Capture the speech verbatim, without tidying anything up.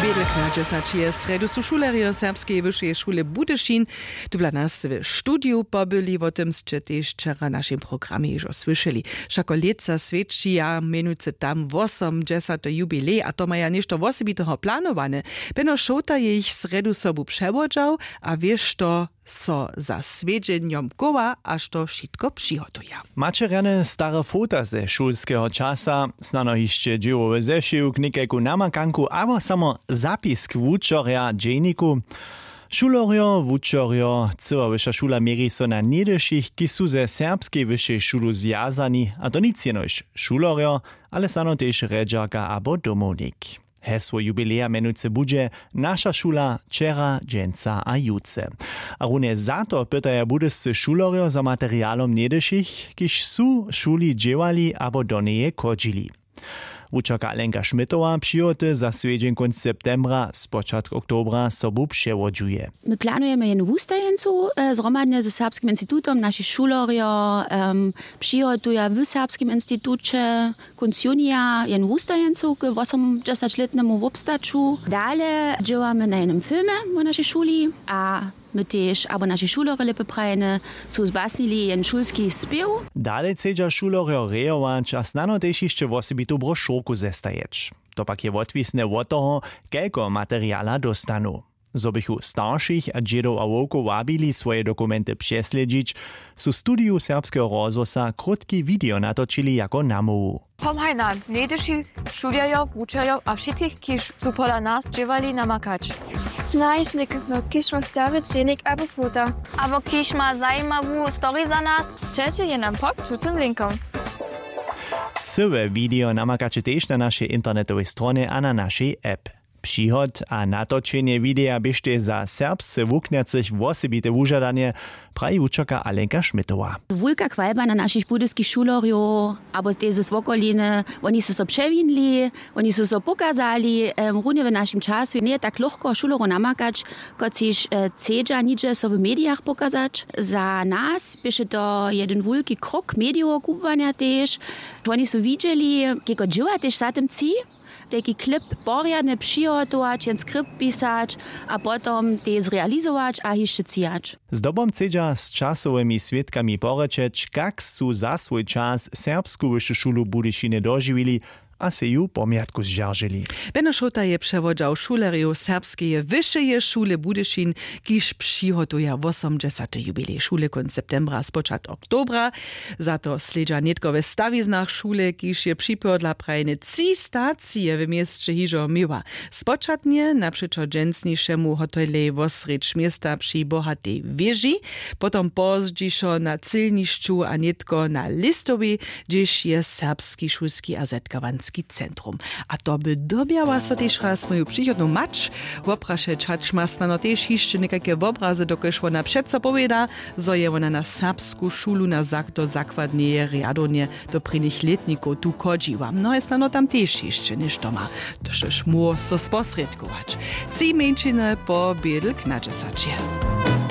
Bědlk na dźesaćeje srjedu su šulerjo serbskeje wyšeje šule Budyšin tu dla nas w studiju pobyli. Wo tym sće tež wčera w našim programje hižo słyšeli. Wšako lětsa swětšija mjenujcy tam wosomdźesaty jubilej a to maja něšto wosebiteho planowane. Beno šołta je jich srjedu sobu přewodźał a wěšto so za swjedźenjom chowa a što wšitko přihotuja. Maće rjane stare fota ze šulskeho časa, snano hišće dźěłowy zešiwk, někajku namakanku abo samo zapisk wučerja w dźejniku? Šulerjo, wučerjo, cyła wyša šula měri so na něhdyšich, kiž su ze serbskej wyšej šulu zwjazani, a to nic jenož šulerjo, ale snano tež rjedźerka abo domownik. Hesło jubileja mjenujcy budźe: Naša šula wčera, dźensa a jutře. A runje za to pytaja budyscy šulerjo za materialom něhdyšich, kiž su w šuli dźěłali abo do njeje chodźili. Wučerka Alenka Šmytowa přihoty za swjedźeń kónc septembra, spočatk oktobra sobu přewodźuje. My planujemy jednu wustajeńcu, e, zhromadnje ze Serbskim institutom. Naši šulerjo, em, přihotuja w Serbskim instituće kónc junija jednu wustajeńcu k wosomdźesaćlětnemu wobstaću. Dale dźěłamy na jednym filmje wo našej šuli a my tež abo naši šulerjo lěpje prajene su zbasnili jedyn šulski spěw. Dale chcedźa šulerjo rejować a snano tež hišće wosebitu brošurku zestajeć. To pak je wotwisne wot toho, kelko materiala dóstanu. Zo bychu staršich a dźědow a wowkow wabili swoje dokumenty přeslědźić, su w studiju serbskeho rozhłosa krótki video natočili jako namołwu. Pomhaj nam, něhdyšich šulerjow, wučerjow a wšitych, kiž su pola nas dźěłali, namakać. Snajš někotno, kiž ma stary dźěnik abo fota, abo kiž ma zajimawu story za nas, sćeće je nam pod tutym linkom. Cyłe video namakaće tež na našej internetowej stronje a na našej app. Přihod a natočenje wideja běštej za serbsce wuknjacych wosebite wužadanje, praji wučerka Alenka Šmytowa. Wulka chwalba na našich budyskich šulerjow abo tež z wokoliny. Woni su so přewinili, woni su so pokazali. Runje w našim času njeje tak lochko šulerjow namakać, kotřiž chcedźa nihdźe so w medijach pokazać. Za nas běše to jedyn wulki krok medijoweho kubłanja tež. Woni su widźeli, kajko dźěła tež za tym tři, tajki klip porjadnje přihotować, jen skript pisać a potom tež zrealizować a hišće třijać. Zdobom chcedźa z časowymi swědkami porěčeć, kak su za swój čas serbsku wyšu šulu w Budyšinje dožiwili a sej ju w pomjatku zdźeržili. Beno šołta je přewodźał šulerjow serbskeje wyšeje šule Budyšin, kiž přihotuja wosomdźesaty jubilej šule kónc septembra spočatk oktobra. Za to slědźa nětko we stawiznach šule, kiž je připodla prajne tři stacije w měsće hižo měła. Spočatnje napřećo dźensnišemu hotelej wosrjedź města při bohatej wěži, potom pozdźišo na cylnišću a nětko na listowej, hdźež je serbski šulski a zetkawanski centrum. A to by dobjała so tež raz moju přichodnu mać woprašeć, hač ma snano tež hišće někajke wobrazy, dokelž wona přeco powěda, zo je wona na serbsku šulu na zak do zakładneje rjadownje do prěnich lětnikow tu chodźiła. Mnohe snano tam tež hišće něšto ma, tož móhło so sposrědkować. Tři mjeńšiny po bědlk na dźesaće.